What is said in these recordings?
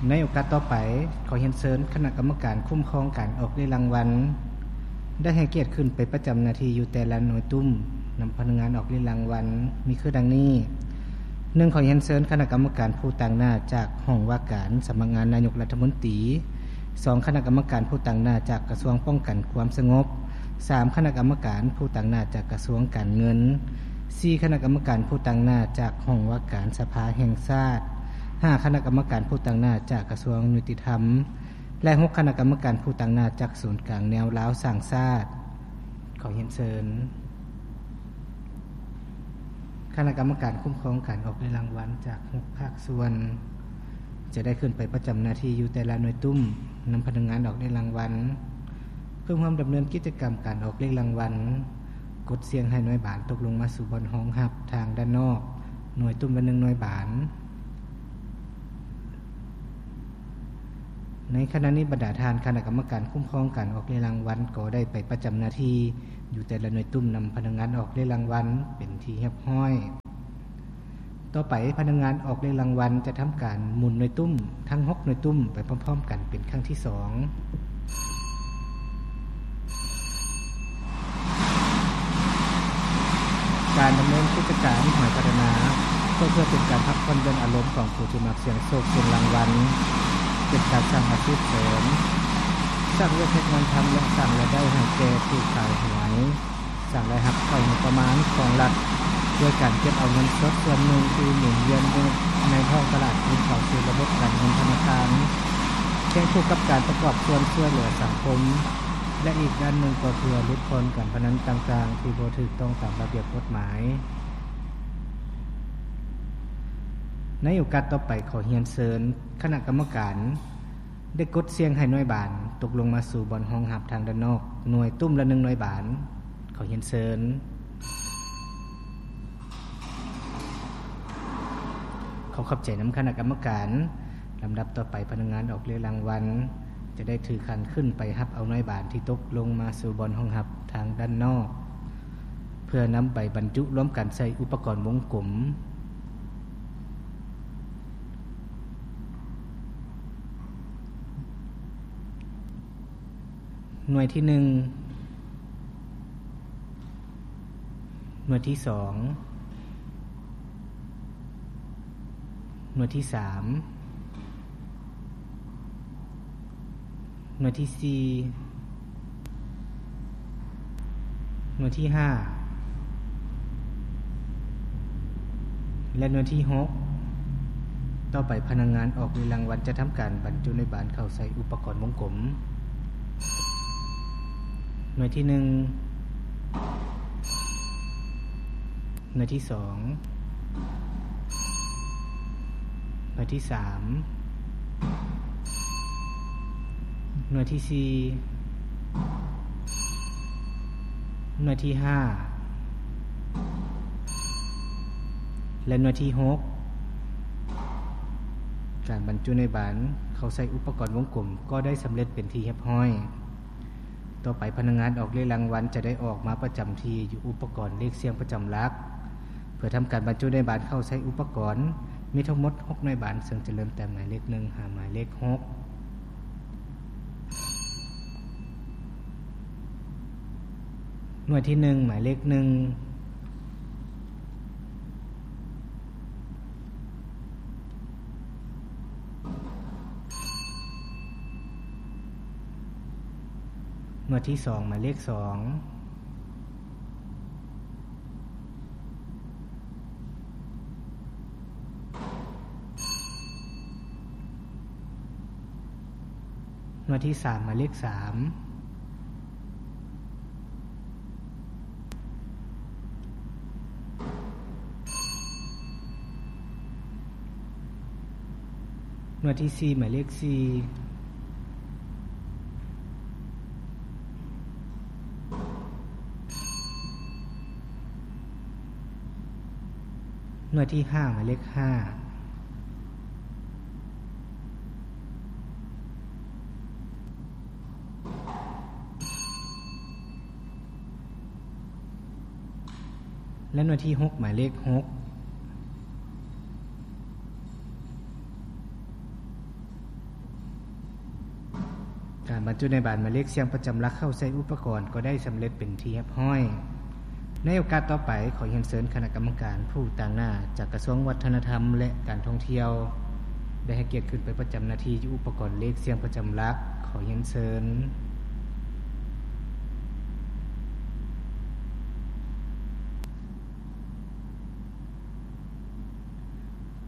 ໃນໂອກາດຕໍ່ໄປ, ຂໍຮຽນເຊີນຄະນະກຳມະການຄຸ້ມຄອງການອອກເລກລາງວັນ ໄດ້ໃຫ້ກຽດຂຶ້ນໄປປະຈຳໜ້າທີ່ຢູ່ແຕ່ລະໜ່ວຍຕຸ້ມ ນຳພະນັກງານອອກເລກລາງວັນ ມີຄືດັ່ງນີ້: ໜຶ່ງ ຂໍຮຽນເຊີນຄະນະກຳມະການຜູ້ຕາງໜ້າຈາກຫ້ອງວ່າການສຳນັກງານນາຍົກລັດຖະມົນຕີ, ສອງ ຄະນະກຳມະການຜູ້ຕາງໜ້າຈາກກະຊວງປ້ອງກັນຄວາມສະຫງົບ, ສາມ ຄະນະກຳມະການຜູ້ຕາງໜ້າຈາກກະຊວງການເງິນ, ສີ່ ຄະນະກຳມະການຜູ້ຕາງໜ້າຈາກຫ້ອງວ່າການສະພາແຫ່ງຊາດ, ຫ້າ ຄະນະກຳມະການຜູ້ຕາງໜ້າຈາກກະຊວງຍຸຕິທຳ ແລະ ຫົກ ຄະນະກຳມະການຜູ້ຕາງໜ້າຈາກສູນກາງແນວລາວສ້າງຊາດ. ຂໍຮຽນເຊີນຄະນະກຳມະການຄຸ້ມຄອງການອອກເລກລາງວັນຈາກຫົກພາກສ່ວນ ຈະໄດ້ຂຶ້ນໄປປະຈຳໜ້າທີ່ຢູ່ແຕ່ລະໜ່ວຍຕຸ້ມ ນຳພະນັກງານອອກເລກລາງວັນ ເພື່ອຮ່ວມດຳເນີນກິດຈະກຳການອອກເລກລາງວັນ, ກົດສ່ຽງໃຫ້ໜ່ວຍບານຕົກລົງມາສູ່ບ່ອນຮອງຮັບທາງດ້ານນອກ, ໜ່ວຍຕຸ້ມລະໜຶ່ງໜ່ວຍບານ. ໃນຂະນະນີ້, ບັນດາທ່ານຄະນະກຳມະການຄຸ້ມຄອງການອອກເລກລາງວັນ ກໍໄດ້ໄປປະຈຳໜ້າທີ່ຢູ່ແຕ່ລະໜ່ວຍຕຸ້ມ ນຳພະນັກງານອອກເລກລາງວັນເປັນທີ່ຮຽບຮ້ອຍ. ຕໍ່ໄປ, ພະນັກງານອອກເລກລາງວັນຈະທຳການໝູນໜ່ວຍຕຸ້ມທັງຫົກໜ່ວຍຕຸ້ມໄປພ້ອມໆກັນເປັນຄັ້ງທີສອງ. ການດຳເນີນກິດຈະການຫວຍພັດທະນາ ກໍເພື່ອເປັນການພັກຜ່ອນຢ່ອນອາລົມຂອງຜູ້ທີ່ມັກສ່ຽງໂຊກສ່ຽງລາງວັນ, ເປັນການສ້າງອາຊີບເສີມ, ສ້າງວຽກເຮັດງານທຳ ແລະ ສ້າງລາຍໄດ້ໃຫ້ແກ່ຜູ້ຂາຍຫວຍ, ສ້າງລາຍຮັບເຂົ້າງົບປະມານຂອງລັດ ດ້ວຍການເກັບເອົາເງິນສົດສ່ວນໜຶ່ງທີ່ໝູນວຽນຢູ່ໃນທ້ອງຕະຫຼາດຄືນເຂົ້າສູ່ລະບົບການເງິນທະນາຄານ, ຄຽງຄູ່ກັບການປະກອບສ່ວນຊ່ວຍເຫຼືອສັງຄົມ ແລະ ອີກດ້ານໜຶ່ງກໍເພື່ອຫຼຸດຜ່ອນການພະນັນຕ່າງໆທີ່ບໍ່ຖືກຕ້ອງຕາມລະບຽບກົດໝາຍ. ໃນໂອກາດຕໍ່ໄປ, ຂໍຮຽນເຊີນຄະນະກຳມະການໄດ້ກົດສ່ຽງໃຫ້ໜ່ວຍບານຕົກລົງມາສູ່ບ່ອນຮອງຮັບທາງດ້ານນອກ, ໜ່ວຍຕຸ້ມລະໜຶ່ງໜ່ວຍບານ. ຂໍຮຽນເຊີນ. ຂໍຂອບໃຈນຳຄະນະກຳມະການ. ລຳດັບຕໍ່ໄປ, ພະນັກງານອອກເລກລາງວັນຈະໄດ້ຖືຂັນຂຶ້ນໄປຮັບເອົາໜ່ວຍບານທີ່ຕົກລົງມາສູ່ບ່ອນຮອງຮັບທາງດ້ານນອກ ເພື່ອນຳໄປບັນຈຸລວມກັນໃສ່ອຸປະກອນວົງກົມ. ໜ່ວຍທີໜຶ່ງ, ໜ່ວຍທີສອງ, ໜ່ວຍທີສາມ, ໜ່ວຍທີສີ່, ໜ່ວຍທີຫ້າ ແລະ ໜ່ວຍທີຫົກ. ຕໍ່ໄປ, ພະນັກງານອອກເລກລາງວັນຈະທຳການບັນຈຸໜ່ວຍບານເຂົ້າໃສ່ອຸປະກອນວົງກົມ. ໜ່ວຍທີໜຶ່ງ, ໜ່ວຍທີສອງ, ໜ່ວຍທີສາມ, ໜ່ວຍທີສີ່, ໜ່ວຍທີຫ້າ ແລະ ໜ່ວຍທີຫົກ. ການບັນຈຸໜ່ວຍບານເຂົ້າໃສ່ອຸປະກອນວົງກົມກໍໄດ້ສຳເລັດເປັນທີ່ຮຽບຮ້ອຍ. ຕໍ່ໄປ, ພະນັກງານອອກເລກລາງວັນຈະໄດ້ອອກມາປະຈຳທີ່ຢູ່ອຸປະກອນເລກສ່ຽງປະຈຳຫຼັກ ເພື່ອທຳການບັນຈຸໜ່ວຍບານເຂົ້າໃສ່ອຸປະກອນ. ມີທັງໝົດຫົກໜ່ວຍບານ, ເຊິ່ງຈະເລີ່ມແຕ່ໝາຍເລກໜຶ່ງຫາໝາຍເລກຫົກ. ໜ່ວຍທີໜຶ່ງ, ໝາຍເລກໜຶ່ງ. ໜ່ວຍທີສອງ, ໝາຍເລກສອງ. ໜ່ວຍທີສາມ, ໝາຍເລກສາມ. ໜ່ວຍທີສີ່, ໝາຍເລກສີ່. ໜ່ວຍທີຫ້າ, ໝາຍເລກຫ້າ. ແລະ ໜ່ວຍທີຫົກ, ໝາຍເລກຫົກ. ການບັນຈຸນາຍບານໝາຍເລກສຽງປະຈຳຫຼັກເຂົ້າໃສ່ອຸປະກອນກໍໄດ້ສຳເລັດເປັນທີ່ຮຽບຮ້ອຍ. ໃນໂອກາດຕໍ່ໄປ, ຂໍຮຽນເຊີນຄະນະກຳມະການຜູ້ຕາງໜ້າຈາກກະຊວງວັດທະນະທຳ ແລະ ການທ່ອງທ່ຽວ ໄດ້ໃຫ້ກຽດຂຶ້ນໄປປະຈຳໜ້າທີ່ຢູ່ອຸປະກອນເລກສຽງປະຈຳຫຼັກ. ຂໍຮຽນເຊີນ.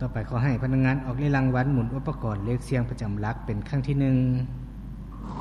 ຕໍ່ໄປ, ຂໍໃຫ້ພະນັກງານອອກເລກລາງວັນໝູນອຸປະກອນເລກສຽງປະຈຳຫຼັກເປັນຄັ້ງທີໜຶ່ງ.